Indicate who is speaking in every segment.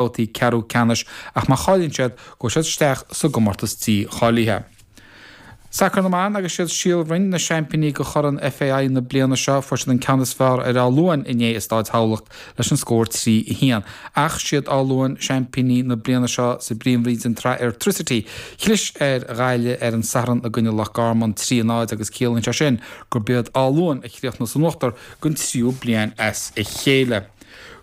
Speaker 1: babhtaí ceathrú ceannais ach má chailleann siad, gabhfaidh siad isteach sa gcomórtas dícháilithe. Sacar na mBan agus siad Síol Bhroin na seaimpíní go Chorn FAI na bliana seo. Fuair siad an ceann is fearr ar Áth Luain inné i Stáid Thamhlacht leis an scór 3, 1. Ach siad Áth Luain seaimpíní na bliana seo sa bPríomhroinn den tSraith Airtricity. Chlis ar Ghaillimh ar an Satharn i gcoinne Loch Garman 3, 0 agus ciallaíonn sé sin gurb iad Áth Luain a chríochnaigh san uachtar don tríú bliain as a chéile.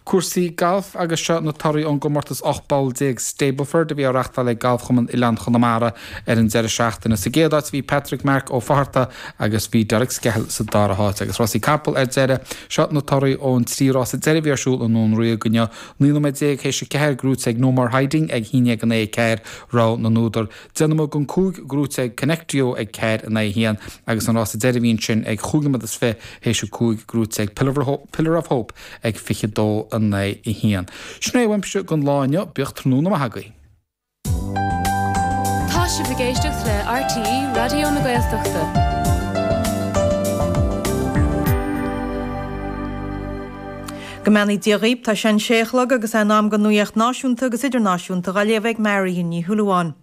Speaker 1: Cúrsaí gailf agus seo na torthaí ón gcomórtas 18 bpoll Stableford a bhí á reachtáil ag Galfchumann Oileán Chonamara ar an deireadh seachtaine. Sa gcéad áit bhí Patrick Mark Ó Fátharta agus bhí Derek Skehill sa dara háit. Agus rásaí capall ar deireadh, seo na torthaí ón dtrí rása deiridh a bhí ar siúl i nDún Ríoga inniu. 19 nóiméad théis a 4 gnóite ag No More Hiding ag 1-4 rogha na n-údar. 10 nóiméad don 5 gnóite ag Connectio ag 4-1 agus an rása deiridh a bhí ansin ag chúig nóiméad is 20 théis a 5 gnóite ag Pillar of Hope ag 22-1. Sin é uaimse don lá inniu, bíodh tráthnóna maith agaibh.
Speaker 2: Tá sibh ag éisteacht le RTÉ Raidió na Gaeltachta.
Speaker 3: Go mbeannaí Dia dhaoib, tá sé an sé a chlog agus é in am don nuaíocht náisiúnta agus idirnáisiúnta dhá léamh ag Marion Ní Shúilleabháin.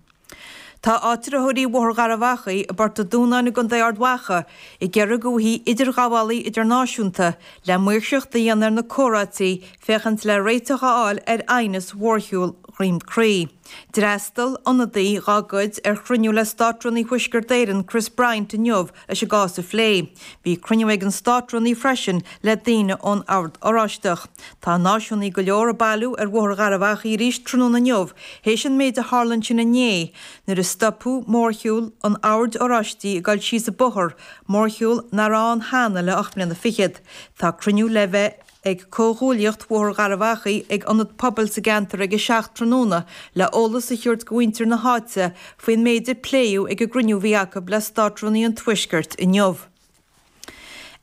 Speaker 3: Tá áitritheoirí Bhóthar Gharbh Achaidh i bPort a' Dúnáin i gContae Ard Mhacha ag iarraidh go bhfaighidh idirghabhálaí idirnáisiúnta le maoirseacht a dhéanamh ar na comhráití féachaint le réiteach a fháil ar aighneas mhórshiúl Dhroim Crí. D'fhreastail ionadaí dhá gcuid ar chruinniú le Státrúnaí Thuaisceart Éireann Chris Bryant inniu leis an gcás a phlé. Bhí cruinniú ag an Státrúnaí freisin le daoine ón Ord Oráisteach. Tá náisiúnaí go leor ag bailiú ar Bhóthar Gharbh Achaidh arís tráthnóna inniu théis an méid a tharla ansin inné nuair a stopadh mórshiúl an Oird Oráistigh ag dul síos an bóthar, mórshiúl nach raibh ann cheana le 8 mbliana fichead. Tá cruinniú le bheith ag Comhghuaillíocht Bhóthar Gharbh Achaidh ag ionad pobail sa gceantar ag a 7 tráthnóna le eolas a thabhairt go mhuintir na háite faoin méid a pléadh ag an gcruinniú a bhí acu le Státrúnaí an Tuaiscirt inniu.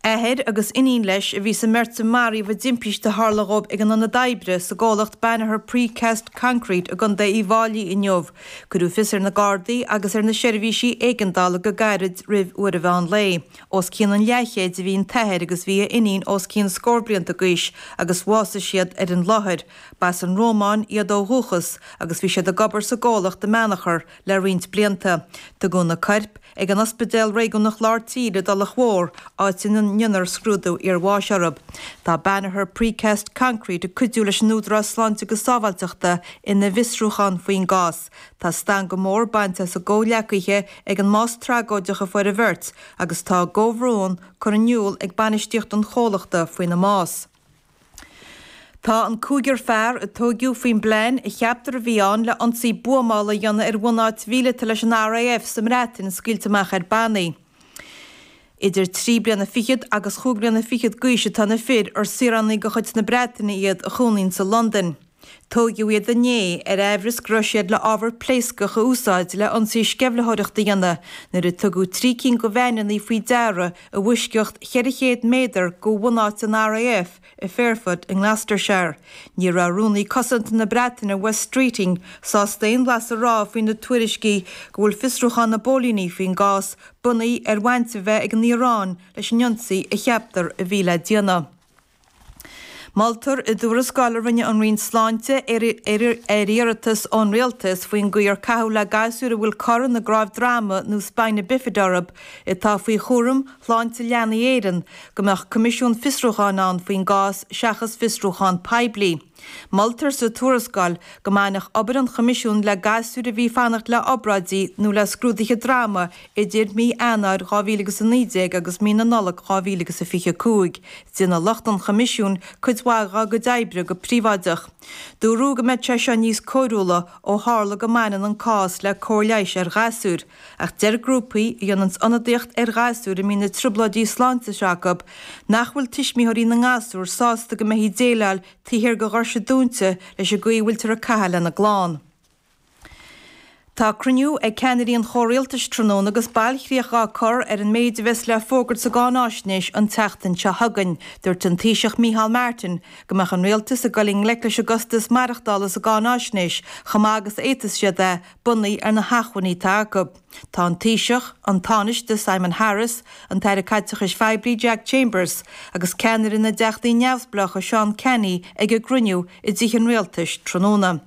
Speaker 3: Athair agus iníon leis a bhí sa mbeirt a maraíodh i dtimpiste a tharla dhóibh ag an ionad oibre sa gcomhlacht Banagher Precast Concrete i gContae Uíbh Fháilí inniu. Cuireadh fios ar na Gardaí agus ar na seirbhísí éigeandála go gairid roimh uair an mheán lae. Os cionn an leathchéid a bhí an t-athair agus bhí a iníon os cionn scór blianta d'aois agus bhásaigh siad ar an láthair. B'as an Rómáin iad ó dhúchas agus bhí siad ag obair sa gcomhlacht i mBeannachar le roinnt blianta. Tugadh na coirp ag an Ospidéal Réigiúnach Lár Tíre i dTulach Mhór, áit ina ndéanfar scrúdú iarbháis orthu. Tá Banagher Precast Concrete ag cuidiú leis an Údarás Sláinte agus Sábháilteachta ina bhfiosrúchán faoin gcás. Tá stangadh mór bainte as a gcomhghleacaithe ag an mbás tragóideach a fuair an bheirt agus tá a gcomhbhrón curtha in iúl ag bainistíocht an chomhlachta faoina mbás. Tá an cúigear fear a tóigeadh faoin bplean a cheaptar a bhí ann le ionsaí buamála a dhéanamh ar bhunáit mhíleata leis an RAF sa mBreatain scaoilte amach ar bannaí. Idir trí bliana fichead agus chúig bliana fichead d'aois atá na fir, ar saoránaigh de chuid na Breataine iad a chónaíonn sa Londain. Tóigeadh iad inné ar aimhreas go raibh siad le ábhar pléascach a úsáid le ionsaí sceimhlitheoireachta a dhéanamh nuair a tugadh trí cinn de veaineanna faoi deara i bhfoisceacht 400 méadar de bhunáit an RAF i Fairford i nGloucestershire. Ní raibh Rúnaí Cosanta na Breataine Wes Streeting sásta aon bhlas a rá faoi na tuairiscí go bhfuil fiosrúchán na bpóilíní faoin gcás bunaithe ar bhaint a bheith ag an Iaráin leis an ionsaí a cheaptar a bhí le déanamh. Moltar i dtuarascáil a rinne an Roinn Sláinte ar iarratas ón Rialtas faoin gcaoi ar caitheadh le gasúir a bhfuil cor ina gcnámh droma nó spina bifida orthu atá faoi chúram Shláinte Leanaí Éireann go mbeadh coimisiún fiosrúcháin ann faoin gcás seachas fiosrúchán poiblí. Moltar sa tuarascáil go mbainfeadh obair an Choimisiúin le gasúir a bhí ag fanacht le obráidí nó le scrúduithe droma idir mí Eanáir 2019 agus mí na Nollag 2025. Déanfaidh lucht an Choimisiúin cuid mhaith dá gcuid oibre go príobháideach. Dúradh go mbeadh sé seo níos cóiriúla ó tharla go mbaineann an cás le cóir leighis ar ghasúir. Ach deir grúpaí a dhéananns ionadaíocht ar ghasúir a mbíonn na trioblóidí sláinte seo acu nach bhfuil tuismitheoirí na ngasúr sásta go mbeifí ag déileáil taobh thiar de dhoirse dúnta leis an gcaoi a bhfuiltear ag caitheamh lena gclann. Tá cruinniú ag ceannairí an chomhrialtais tráthnóna agus bailchríoch á cur ar an méid a bheas le fógairt sa gcáináisnéis an tseachtain seo chugainn. Dúirt an Taoiseach Micheál Martin go mbeadh an rialtas ag dul i ngleic leis an gcostas maireachtála sa gcáináisnéis chomh maith agus a fhéadfas siad é, bunaithe ar na hacmhainní atá acu. Tá an Taoiseach, an Tánaiste Simon Harris, an tAire Caiteachais Phoiblí Jack Chambers agus ceannaire na dTeachtaí Neamhspleácha Seán Canney ag an gcruinniú i dTithe an Rialtais tráthnóna.